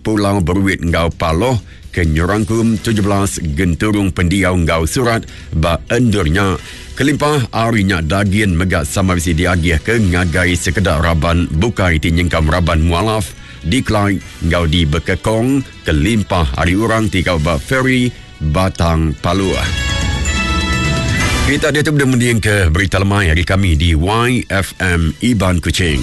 Pulau Beruit enggau Paloh ke nyerangkum 17 genturung pendiau enggau surat ba endur nya. Kelimpah ari nya dagin mega sama bisi diagihka ngagai sekeda raban bukai ti nyengkaum raban mualaf di Clyde enggau di Bekekong kelimpah ari orang ti gawa ba feri Batang Paluh. Kita diatu udah mendingka berita lemai ari kami di YFM Iban Kuching.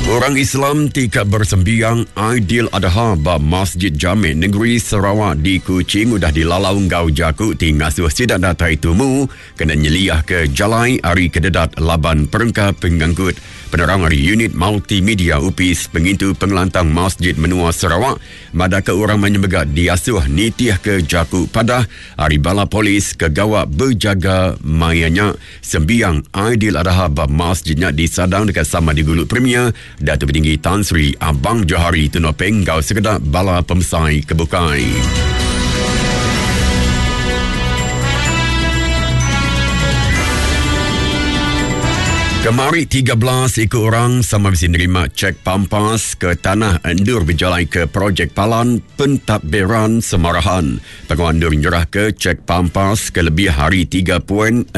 Orang Islam ti ka bersembiang Aidil Adha ba Masjid Jamek Negeri Sarawak di Kuching udah dilalau enggau jaku ti ngasuh sida datai tumu kena nyeliahka jalai ari kededat laban perengka pengangkut. Penerang ari Unit Multimedia Opis Pengintu Pengelantang Masjid Menua Sarawak madahka orang mayuh mega diasuh nitihka jaku padah ari bala polis ke gawa bejaga maya nya. Sembiang Aidil Adha ba masjid nya disadang deka sama digulu Premier Datuk Petinggi Tan Sri Abang Johari Tun Openg enggau sekeda bala pemesai ke bukai. Kemari 13 iku orang sama bisi nerima cek pampas ke tanah endur bejalai ke projek palan pentadbiran Semarahan. Pengawa endur nyerahka cek pampas ke lebih ari 3.71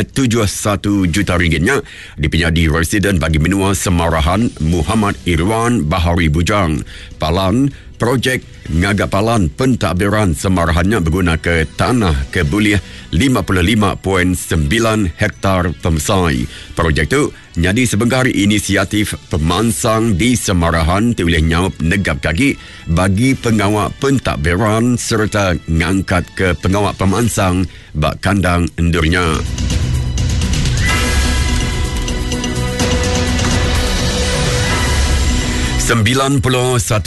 juta ringgit nya dipenyadi Residen Bagi Menua Semarahan Muhammad Irwan Bahari Bujang. Palan projek ngaga palan pentadbiran Semarahan nya begunaka tanah ke bulih 55.9 hektar pemesai. Projek tu nyadi sebengkah ari inisiatif pemansang di Semarahan ti ulih nyaup negapka agi bagi pengawa pentadbiran sereta ngangkatka pengawa pemansang ba kandang endur nya. 91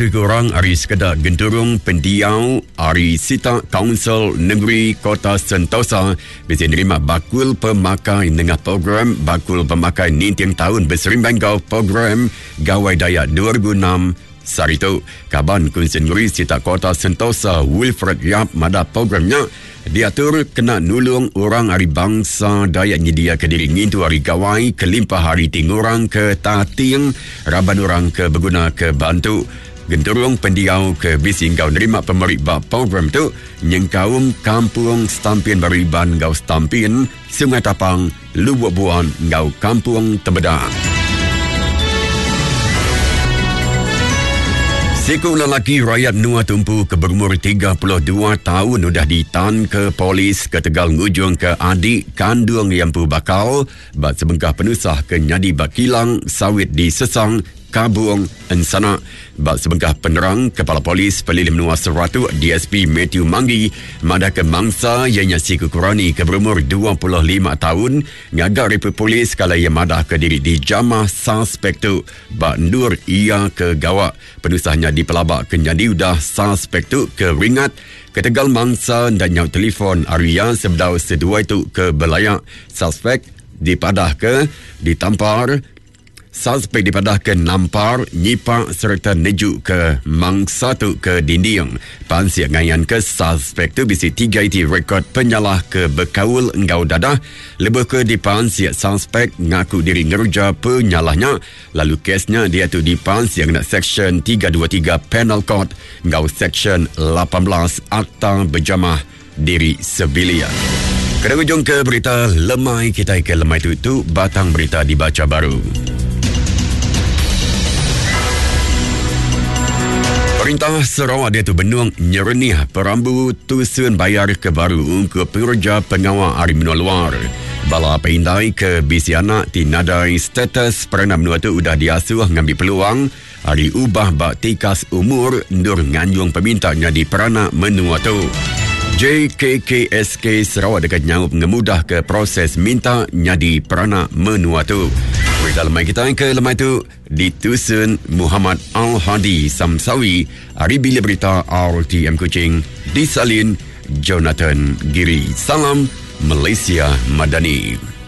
iku orang ari sekeda genturung pendiau ari sitak Kaunsil Nengeri Kota Sentosa bisi nerima bakul pemakai nengah program Bakul Pemakai Ninting Taun beserimbai enggau Program Gawai Dayak 2006 Sehari tu. Kaban Kunsil Nengeri Sitak Kota Sentosa Wilfred Yap madah program nya diatur kena nulung orang ari bansa Dayak nyediaka diri ngintu Hari Gawai kelimpah ari ti ngurangka tating raban orang ke begunaka bantu. Genturung pendiau ke bisi enggau nerima pemeri ba program tu nyengkaum Kampung Stampin Baru Iban enggau Stampin, Sungai Tapang, Lubuk Buan enggau Kampung Temedang. Siku lelaki rayat menua tumpu ke berumur 32 taun udah ditanka polis ketegal ngujungka adik kandung iya empu bakal ba sebengkah penusah ke nyadi ba kilang sawit di Sesang, Kabung, Ensana. Ba sebengkah penerang, Kepala Polis Pelilih Menua Seratuk DSP Mathew Manggi madahka mangsa iya nya siku kerani ke berumur 25 taun ngaga riput polis kala iya madahka diri dijamah suspek tu ba endur iya ke gawa. Penusah nya dipelaba ke nyadi udah suspek tu ke ringat ketegal mangsa enda nyaut telefon ari iya sebedau seduai tu ke belaya. Suspek dipadahka ditampar Suspek dipadahka nampar, nyipak sereta nejuka mangsa tu ke dinding. Pansik ngayanka suspek tu bisi tiga iti rekod penyalah ke bekaul enggau dadah. Lebuh ke dipansik suspek ngaku diri ngereja penyalah nya lalu kes nya diatu dipansik ngena Seksyen 323 Penal Code enggau Seksyen 18 Akta Bejamah Diri Sebilik. Kena ngujung ke berita lemai kitai ke lemai tu tu batang berita dibacha baru. Perintah Sarawak diatu benung nyerenih perambu tusun bayar ke baru ungkup pengereja pengawa ari menua luar. Bala apai indai ke bisi anak ti nadai status peranak menua tu udah diasuh ngambi peluang Ari ubah ba tikas umur endur nganjung peminta nyadi peranak menua tu. JKKSK Sarawak deka nyaup ngemudahka proses minta nyadi peranak menua tu. Berita lemai kitai ke lemai tu ditusun Muhammad Al-Hadi Samsawi ari Bilik Berita RTM Kuching disalin Jonathan Giri. Salam Malaysia Madani.